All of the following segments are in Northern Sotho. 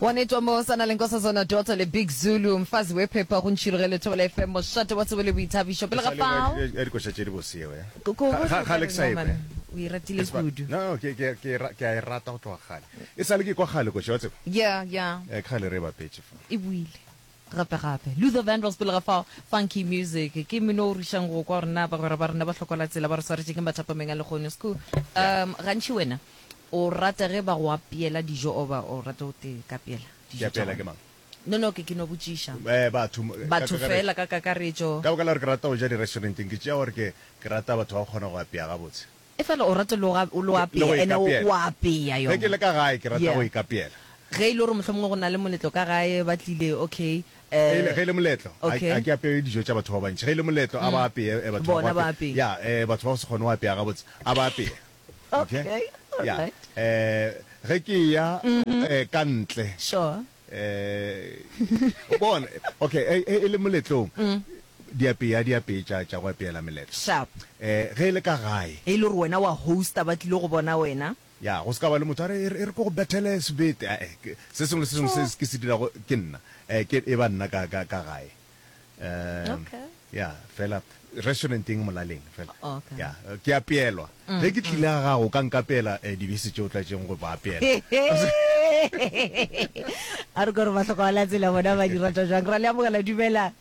Wanetwa mo sa na le Nkosazana Daughter le Big Zulu mfazi wephepha go ntšhiroge le Thobela FM mošate wa tsebo le boithabišo pele ga fao Ya dikoša tše di bose yeo, eh? Ko- ko- Ga- ga- Kgale ke sa no, e man, kwe. o e ratile Ke seba- kudu No, ke, ke, ke, ra- ke a e rata go tloga kgale. E sa le ke kwa kgale koša, wa tseba. yeah yeah Eh, kgale re e bapetše fa. e buile gape gape Luther Vandross pele ga fao funky music ke mmino o rušang go kwa gore na bagwera ba rena ba hlokola tsela ba re swaretše ke mathapameng a lekgono sku um gantši wena O rata ge ba go apeela dijo oba o rata o te kapeela Ke dijo tša apeela ke gona? mang? No, no, ke, ke no botšiša. Eh, batho, ka Batho kakaretšo. feela ka kakaretšo. Ka baka la gore ke rata go ja di-restauranteng, ke tšea gore ke, ke rata batho ba go kgona go apea gabotse. Efela o rata le go, le go Le go apea, ene o, ikapeela. o apea Ge ke yona. le ka gae, ke rata Yeah. go ikapeela. Ge e le gore mohlomongwe go na le moletlo ka gae, ba tlile, okay, Ge e le, eh, ge e le moletlo, a, okay. a ke apee dijo tša batho ba bantši. Ge e le moletlo, a ba apee, eh, batho ba Bona go ba apea. apee. Ya, eh, batho ba go se kgone go apea gabotse, a ba apee. Okay, all Ya, right. eh, ge ke eya eh, ka ntle Sure. eh, bona, okay, e, e, e le moletlong, diapea di apee tša, tša go apeela meletlo. Sharp. Eh, ge e le ka gae. E le gore wena wa hosta ba tlile go bona wena. Ya, go se ka ba le motho a re, e re, e re ke go bethele sebete. Ae, ke, se sengwe le se sengwe se ke se dirago ke nna. Eh, ke, e ba nna ka, ka, ka gae. Um, Okay. ya, fela restauranteng molaleng fela. Okay. Ya, ke apeelwa. Ge ke tlile ga gago o ka nkapeela eh, dibese tše o tlaetšeng go ba apeela. A re kore bahlokomela tsela bona ba di rata jwang. Ra le amogela, dumela.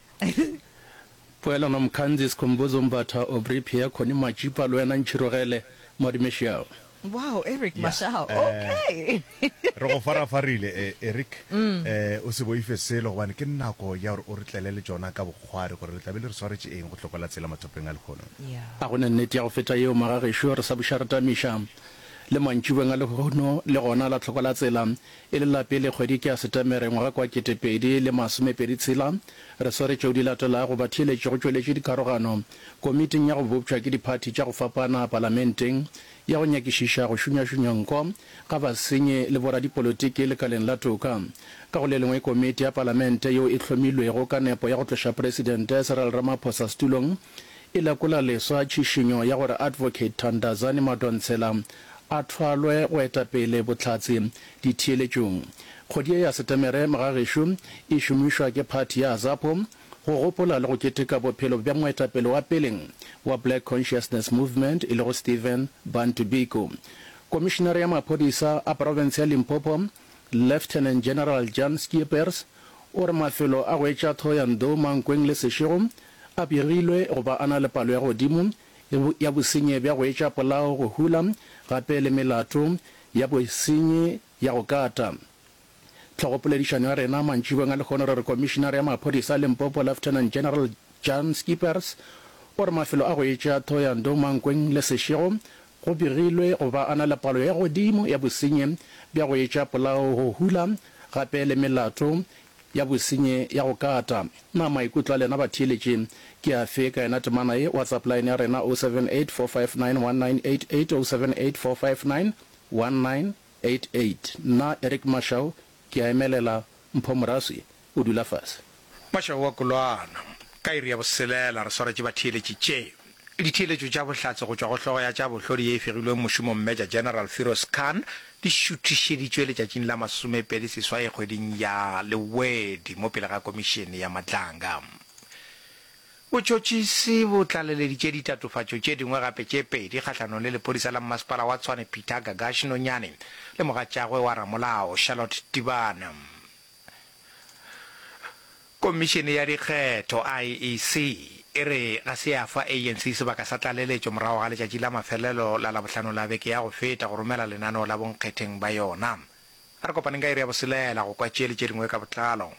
Poelano Mkhanzi, Skhumbuzo Mbatha, Aubrey Pierre, Connie Majipa le wena Ntšhirogele Mwadimeshiao. Wow, Eric Ya, Mashao. eh, Okay. re go farafarile eh, Eric. Eh, o se boife selo gobane ke nako ya gore o re tlele le tšona ka bokgwari gore le tla be le re swaretše eng go hlokola tsela mathopeng a lehono. Yeah. A go ne nnete ya go feta yeo magagešo re sa buša re tamiša le mantšibeng a lehono le gona la tlhoko la tsela e le la pele kgwedi ke ya Setemere ngwaga kwa 2026 re swere tšeo di latelago batheeletši go tšweletše dikarogano komiting ya go bopša ke diphathi tša go fapana palamenteng ya go nyakišiša go šunyašunya nko ga basenyi le boradipolotiki lekaleng la toka. Ka go le lengwe, komiti ya palamente yeo e hlomilwego ka nepo ya go tloša Presidente Cyril Ramaphosa setulong e lekola leswa tšhišinyo ya gore Advocate Thandazani Madonsela a thwalwe go eta pele bohlatse ditheeletšong. Kgwedi ye ya Setemere mogagešo e šomišwa ke phathi ya Azapo Go gopola le go keteka bophelo bja moetapele wa peleng wa Black Consciousness Movement e lego Stephen Bantu Biko. Komišinare ya maphodisa a profense ya Limpopo, Lieutenant General Jan Scheepers, o re mafelo a go etša Thohoyandou, Mankweng le Seshego a begilwe go ba a na le palo ya godimo ya bosenyi bja go etša polao, go hula gape le melato ya bosenyi ya go kata. Tlhogopoledišano ya rena mantšibong a lehono re re Komišinare ya Maphodisa a Limpopo Lieutenant General Jan Scheepers o re mafelo a go etša Thohoyandou, Mankweng le Seshego go begilwe go ba a na le palo ya godimo ya bosenyi bja go etša polao, go hula gape le melato ya bosenyi ya go kata. Na maikutlo a lena batheeletši ke afe ka yona temana ye? WhatsApp line ya rena 078 459 1988, 078 459 1988. 88. Nna, Eric Mashau, ke a emelela, Mpho Moraswi o dula fase. Mashau wa Kolwana. Ka iri ya boselela re swaretše batheeletši tše. Ditheeletšo tša bohlatse go tšwa go hlogo ya tša bohlodi ye e fegilweng mošomong Major General Firoz Khan di šuthišeditšwe letšatšing la masomepedi seswai kgweding ya Lewedi mo pele ga Komišene ya Matlanga. Botšhotšhisi bo tlaleleditše ditatofatšo tše dingwe gape tše pedi kgahlanong le lephodisa la mmasepala wa Tshwane Peter Gagash Nonyane le mogatšagwe wa ramolao Charlotte Tibana. Komišene ya Dikgetho, IEC, e re ga se ya fa ANC sebaka sa tlaleletšo morago ga letšatši la mafelelo la Labohlano la beke ya go feta go romela lenaneo la bonkgetheng ba yona. A re kopaneng ka iri ya boselela go kwa tše le tše dingwe ka botlalo.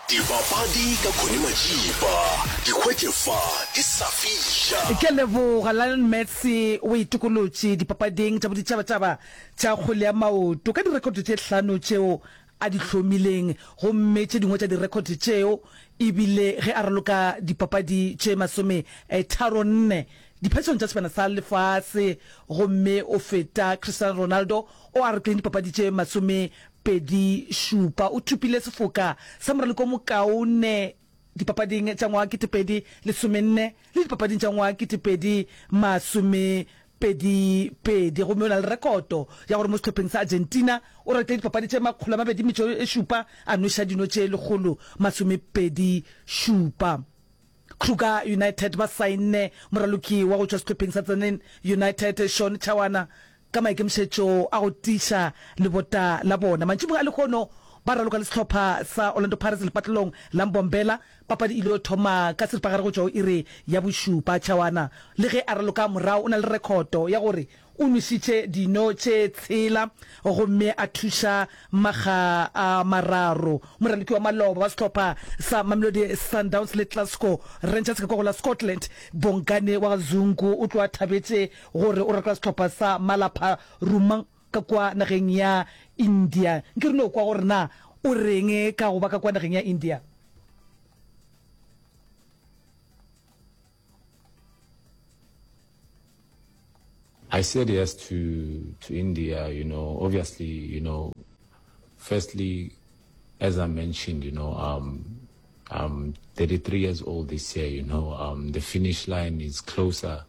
Dipapadi ka Connie Majiba, di hwetše fa di sa fiša. Ke a leboga. Lionel Messi o itokolotše dipapading tša boditšhabatšhaba tša kgwele ya maoto ka direkhoto tše hlano tšeo a di hlomileng gomme tše dingwe tša direkhoto tšeo e bile ge a raloka dipapadi tše masometharonne diphetšong tša Sebjana sa Lefase gomme o feta Cristiano Ronaldo o a rokileng dipapadi tše 27. O thopile sefoka sa moraloko o mokaone dipapading tša ngwaga 2014 le dipapading tša ngwaga 2020. Pedi, pedi, gomme o na le rekoto ya gore mo sehlopheng sa Argentina o ratile dipapadi tše 207, a nweša dino tše 127. Kruger United ba saenne moraloki wa go tšwa sehlopheng sa Tzaneen United Sean Chawana ka maikemišetšo a go tiiša lebota la bona. Mantšiboeng a lehono ba raloka le sehlopha sa Orlando Pirates lepatlelong la Mbombela Papadi e ile thoma ka seripagare go tšwa go iri ya bošupa. Chawana, le ge a raloka morago, o na le rekhoto ya gore o nwešitše dino tše tshela gomme a thuša makga a mararo. Moraloki wa maloba wa sehlopha sa Mamelodi Sundowns le Glasgow Rangers ka kwa go la Scotland, Bongani wa ga Zungu o tloga a thabetše gore o raloka sehlopha sa Malapha Rumang ka kwa nageng ya India. Nke re no kwa gore na o reng ka go ba ka kwa nageng ya India. I said yes to to India, you know, obviously, you know, firstly, as I mentioned, you know, um, I'm 33 years old this year, you know, um, the finish line is closer.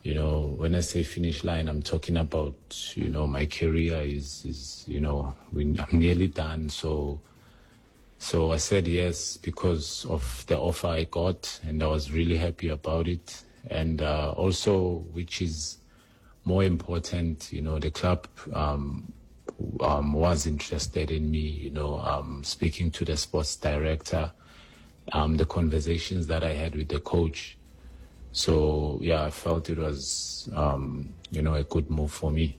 You know, when I say finish line, I'm talking about, you know, my career is, is you know, we, I'm nearly done. So, so I said yes because of the offer I got, and I was really happy about it. And uh, also, which is more important, you know, the club um, um, was interested in me, you know, um, speaking to the sports director, um, the conversations that I had with the coach. So, yeah, I felt it was, um, you know, a good move for me.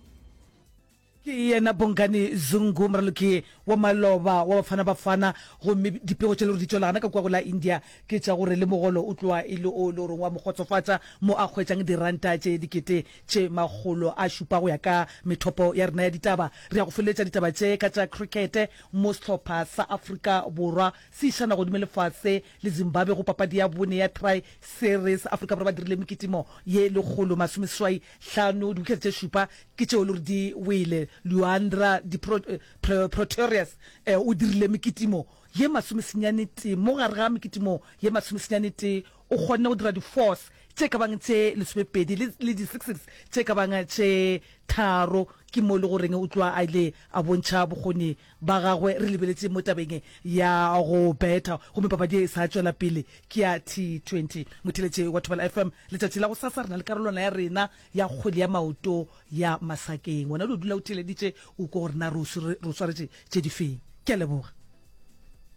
Ke yena Bongani Zungu, moraloki wa maloba wa Bafana Bafana, gomme dipego tše le gore di tšwela gana ka kua go la India ke tša gore le mogolo o tloga e le o le goreng wa mo kgotsofatša mo a hwetšang diranta tše dikete tše 700 go ya ka methopo ya rena ya ditaba. Re ya go feleletša ditaba tše ka tša krikete mo sehlopha sa Afrika Borwa se išana godimo le fase le Zimbabwe go papadi ya bone ya Tri Series. Afrika Borwa ba dirile mekitimo ye 185, diwikete tše šupa ke tšeo le gore di wele. Lhuan-dre du Pretorius o dirile mekitimo ye masomesenyane-tee. Mo gare ga mekitimo ye masomesenyane-tee o kgonne go dira di-fours tše ka bang tše lesomepedi le, le di-sixes tše ka bang tše tharo. Ke mo e le goreng o tloga a ile a bontšha bokgoni ba gagwe re lebeletše mo tabeng ya go betha. Gomme papadi ye e sa tšwela pele ke ya T20. Motheeletši wa Thobela FM, letšatši la gosasa re na le karolwana ya rena ya kgwele ya maoto ya masakeng. Wena o dio dula o theeleditše o kwe gore na re o swaretše tše di feng. Ke a leboga.